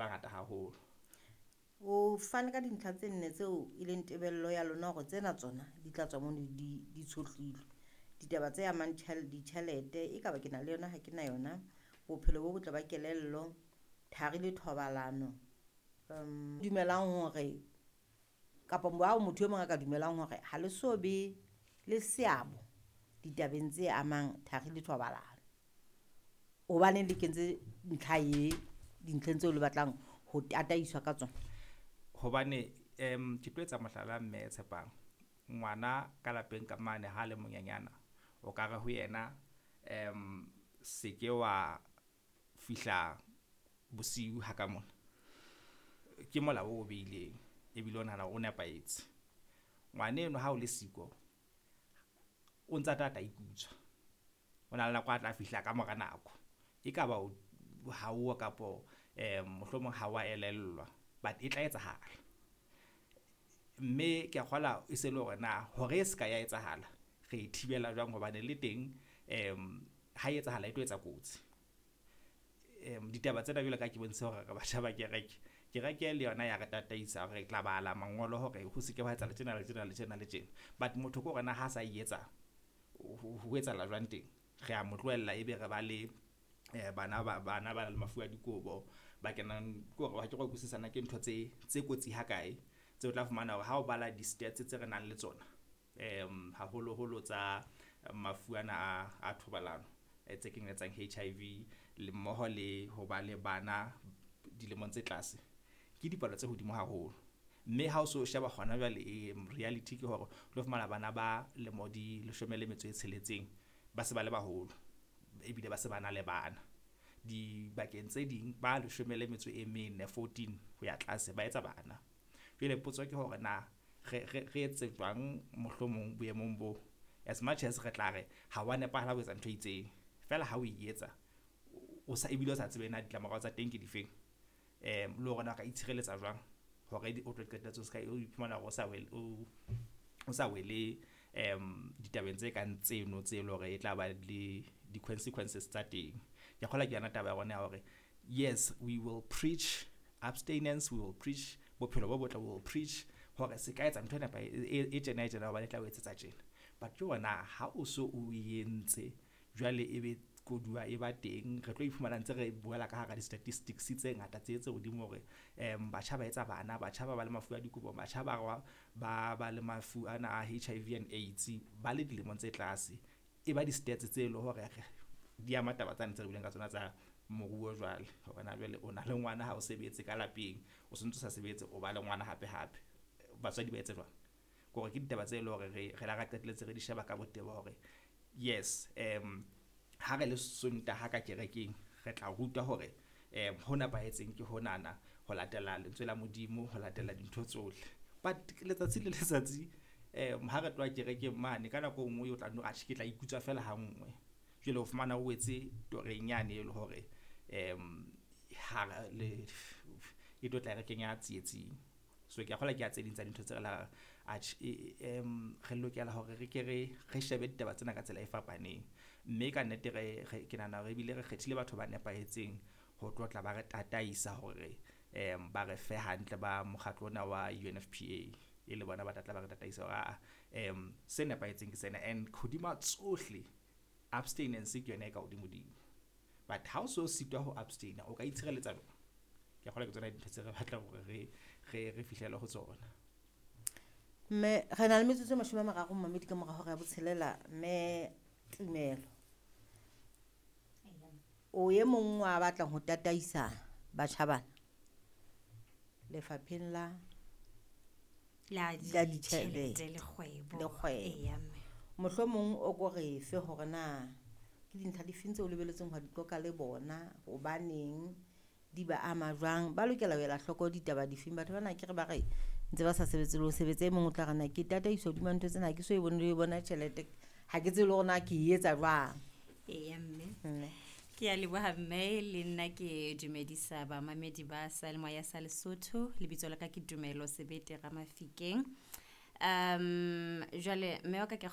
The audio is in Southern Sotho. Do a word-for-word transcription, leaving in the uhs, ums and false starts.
bangata haholo. O fane ka dintlha tse nne tseo e leng tebello ya lona hore tsena tsona di tla tswa mono di di tshohlilwe. Ditaba tse amang ditjhelete e ka ba ke na le yona ha ke na yona, bophelo bo botle ba kelello, thari le thobalano. Um dumelang hore kapa bao motho e mong a ka dumelang hore ha le so be le seabo ditabeng tse amang thari le thobalano. Hobaneng le kentse ntlha e dintlheng tseo le batlang ho tataiswa ka tsona? Hobane um ke tlo etsa mohlala mme Tshepang. Ngwana ka lapeng ka mane ha le monyenyana o ka re ho yena um se ke wa fihla bosiu ha ka mona. Ke molao o beileng ebile o nahana o nepahetse. Ngwaneno ha o le siko o ntsa tla tla ikutswa. O na le nako a tla fihla ka mora nako. E ka ba ha o kapo um mohlomong ha wa elellwa but e tla etsahala. Mme ke a kgola e se le hore na hore e se ka ya etsahala re e thibela jwang hobane le teng um ha e etsahala e tlo etsa kotsi. Um ditaba tsena jwalo ka ke bontshe hore re batjha ba kereke. Kereke le yona ya re tataisa re tla bala mangolo hore ho se ke wa etsahala tjena le tjena le tjena le tjena. But motho ke hore na ha sa e etsa ho etsahala jwang teng. Re a mo tlohella ebe re ba le bana ba bana ba le mafu a dikobo ba kenang ke hore ha ke re utlwisisana ke ntho tse tse kotsi ha kae tseo tla fumana hore ha o bala di-stats tse re nang le tsona um haholoholo tsa mafu ana a a thobalano tse kenyelletsang H I V le mmoho le ho ba le bana dilemong tse tlase ke dipalo tse hodimo haholo. Mme ha o so sheba hona jwale reality ke hore o tlo fumana bana ba lemo di leshome le metso e tsheletseng ba se ba le baholo ebile ba se ba na le bana. Dibakeng tse ding ba leshome le metso e mene fourteen ho ya tlase ba etsa bana. Jwale potso ke hore na re re re etse jwang mohlomong boemong bo as much as re tla re ha wa nepahala ho etsa ntho e itseng feela ha o e etsa o sa ebile o sa tsebe na ditlamorao tsa teng ke difeng um le hore na ka itshireletsa jwang hore o tlo qetelletse o ska o iphumana hore o sa wele o sa wele um ditabeng tse kang tseno tse leng hore e tla ba le di-consequences tsa teng. Ke kgolwa ke yona taba ya rona ya hore yes we will preach abstinence, we will preach bophelo bo botle, we will preach hore se ka etsa ntho e e tjena e tjena hobane e tla o etsetsa tjena. But ke hore ha o so o entse jwale ebe koduwa e ba teng re tlo iphumana ntse re buela ka hara di-statistics tse ngata tse tse hodimo hore um batjha ba etsa bana, batjha ba ba le mafu a dikobo, batjha ba ba ba le mafu ana a H I V and AIDS ba le dilemong tse tlase. E ba di-stats tse leng hore di ama taba tsane tse re buileng ka tsona tsa moruo jwale hore na jwale o na le ngwana ha o sebetse ka lapeng o sontso sa sebetse o ba le ngwana hape hape batswadi ba etse jwang. Ke hore ke ditaba tse leng hore re re la ra qetelletse re di sheba ka botebo hore yes um ha re le Sontaha ka kerekeng re tla rutwa hore um ho nepahetseng ke honana ho latela lentswe la Modimo ho latela dintho tsohle. But letsatsi le letsatsi um ha re tloha kerekeng mane ka nako e nngwe o tla no atjhe ke tla ikutswa fela ha nngwe. Jwale o fumana o wetse toreng yane e le hore um ha le e tlo tla re kenya tsietsing. So ke a kgolwa ke a tse ding tsa dintho tse re la atjhe um re lokela hore re ke re re shebe ditaba tsena ka tsela e fapaneng. Mme ka nnete re ke nahana hore ebile re kgethile batho ba nepahetseng ho tlo tla ba re tataisa hore um ba re fe hantle ba mokgatlo ona wa U N F P A e le bona ba tla tla ba re tataisa hore um se nepahetseng ke sena. And hodima tsohle abstinence ke yona e ka hodimodimo. But ha o so sitwa ho abstain o ka itshireletsa jwang? Ke kgolwa ke tsona dintho tse re batlang hore re re re fihlele ho tsona. Mme re na le metsotso e mashome a mararo mmamedi ka mora hora ya botshelela. Mme Tumelo o e mong wa batlang ho tataisa batjha bana lefapheng la la la ditjhelete le kgwebo le kgwebo. Eya mme. Mohlomong o ko re fe hore na ke dintlha difeng tseo o lebeletseng ho di qoqa le bona, hobaneng di ba ama jwang, ba lokela ho ela hloko ditaba difeng. Batho bana ke re ba re ntse ba sa sebetse le ho sebetsa, e mong o tla re na ke tataiswa hodima ntho tsena ha ke so e bone le e bona tjhelete ha ke tsebe le hore na ke e etsa jwang. Eya mme. Mme. Ke a leboha mme, le nna ke dumedisa bamamedi ba Seyalemoya sa Lesotho. Lebitso la ka ke Tumelo Sebete Ramafikeng. Um jwale mme wa ka ke